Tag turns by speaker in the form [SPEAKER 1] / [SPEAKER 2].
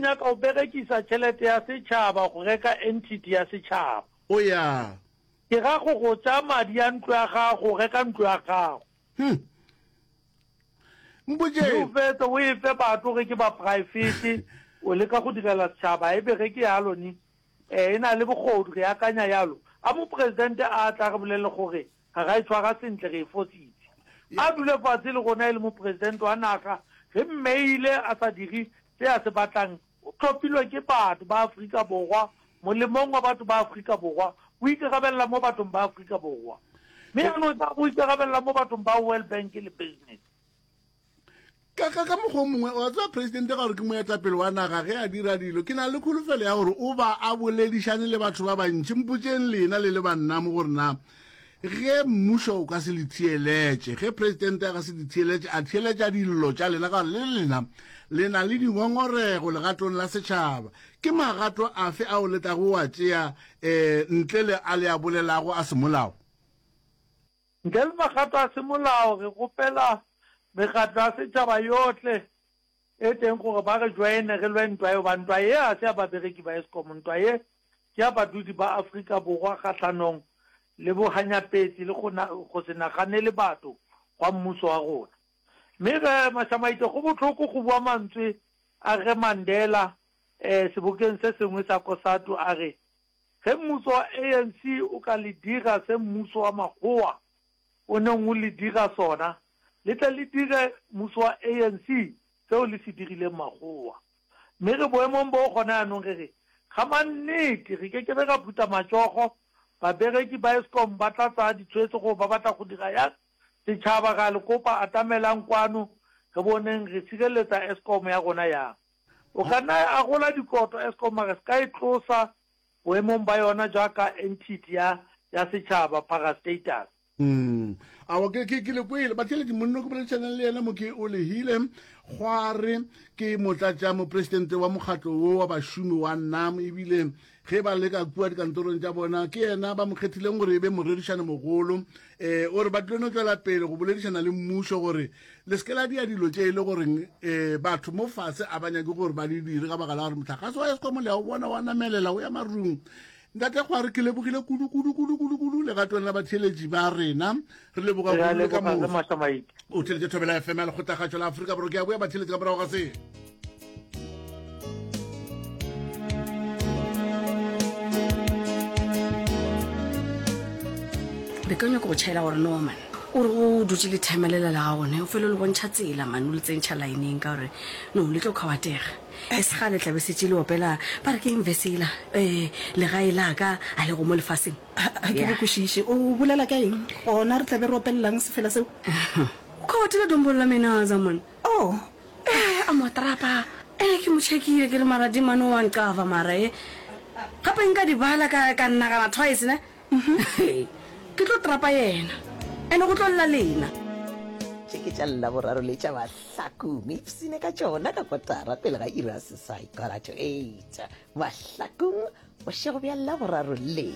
[SPEAKER 1] nyaka go berekisa tšhelete ya setšhaba go reka entity ya setšhaba.
[SPEAKER 2] O ya.
[SPEAKER 1] Ke ra go go tšea madi a ntlo ya gago go reka ntlo ya gago.
[SPEAKER 2] Hm. Mpotše.
[SPEAKER 1] Mme o fetse o e fe batho ge ke ba praefete, o leka go direla setšhaba, e be ge ke yalo ni, e na le bogodu, re akanya yalo. A mopresidente a tla re bolelele gore ga ra e tshwara sentle, re e fositse. A dule fatshe le rona e le mopresidente wa naga, re mmeile a sa dire se a se batlang, o tlhophilwe ke batho ba Afrika Borwa, molemong wa batho ba Afrika Borwa, o ikarabella mo bathong ba Afrika Borwa. Mme jaanong tla go ikarabella mo bathong ba World Bank le business.
[SPEAKER 2] Ka, ka, ka mokgwa o mongwe, wa tseba presidente ka gore ke moetapele wa naga, ge a dira dilo, ke na le kholofelo ya gore o ba a boledišane le batho ba bantši. Mpotšeng lena le le banna mo gore na ge mmušo o ka se le theeletše, ge presidente a ka se le theeletše, a theeletša dillo tša lena, ka gore le lena le na le dingongorego legatong la setšhaba, ke magato afe ao le tlago wa tšea um ntle le a le a bolelago a semolao?
[SPEAKER 1] Ntle le magato a semolao, re kgopela mekgatlo ya setšhaba yohle e teng gore ba re joine re lwe ntwa ye, goba ntwa ye ga se ya babereki ba Eskom, ntwa ye ke ya badudi ba Afrika Borwa kgahlanong le bohanyapetsi le go se naganele batho gwa mmuso wa rona. Mme ge, Mashamaite, go bohloko go bua mantswe a ge Mandela sebokeng se sengwe sa Cosatu a re, Ge mmuso wa ANC o ka le dira se mmuso wa makgowa o neng o le dira sona, le tle le dire mmuso wa ANC seo le se dirileng makgowa. Mme re boemong boo gona jaanong re re, ga mannete re ke ke be ra phutha matšogo, babereki ba Eskom ba tla tsaya ditshwetso gore ba batla go dira yang, setšhaba re a le kopa atamelang kwano re boneng re sireletsa Eskom ya rona yang. O ka nna ya agola dikoto Eskom mara se ka e tlosa boemong ba yona jaaka entity ya ya setšhaba, parastatal.
[SPEAKER 2] Mm. Awa ke ke ke le kwele batheeletši monno ke boledišanang le yena mo ke o lehile kgware ke motlatša mopresidente wa mokgatlo wo wa bašomi wa nam ebile ge ba leka kua dikantorong tša bona ke yena ba mo kgethileng gore e be morerišane mogolo um o re ba tlilo no tšwela pele go boledišana le mmušo gore le se ke la dia dilo tše e le goreng um batho mo fase a ba nyake gore ba di dire ka baka la gore motlakase wa eskom le ya o bona wa namelela o ya marung ntate kgware ke lebogile kudu kudu kudu kudu kudu legatong la batheeletši ba rena re leboga
[SPEAKER 1] Re a kudu le ka leboga ge moso Mašamaite.
[SPEAKER 2] o theletše thobela fm ya lekgotlakgatšo la afrika borwa ke a boya batheeletši ka morago ga se
[SPEAKER 3] Be ka nyaka go tšhaela gore no man o re o dutše le timer lela la gago ne o fele o le bontšha tsela man o le tsentšha lineng ka gore no le tlo kgawatega e se gale tlabe setše le opela ba re ke eng verse ela um legae la ka a lego mo lefaseng
[SPEAKER 4] Ga ke go kwešiše. O bolela ka eng? Gona re tla be re opelelang sefela seo?
[SPEAKER 3] O kgawatile dombolo la menaza man.
[SPEAKER 4] Oh.
[SPEAKER 3] Eh, a mo trapa. Eh, ke mo checkile ke re mara di mane wa nqava mara e. Gape nka di bala ka ka nagana twice ne. Ke tlo trapa yena. Ene go tlo lla lena.
[SPEAKER 5] Tše ke tša Laboraro le tša Mahlakong. Ipsine ka tšona ka kotara pele ga iri ya seswai, quarter to eight. Mahlakong, bošego bja Laboraro le.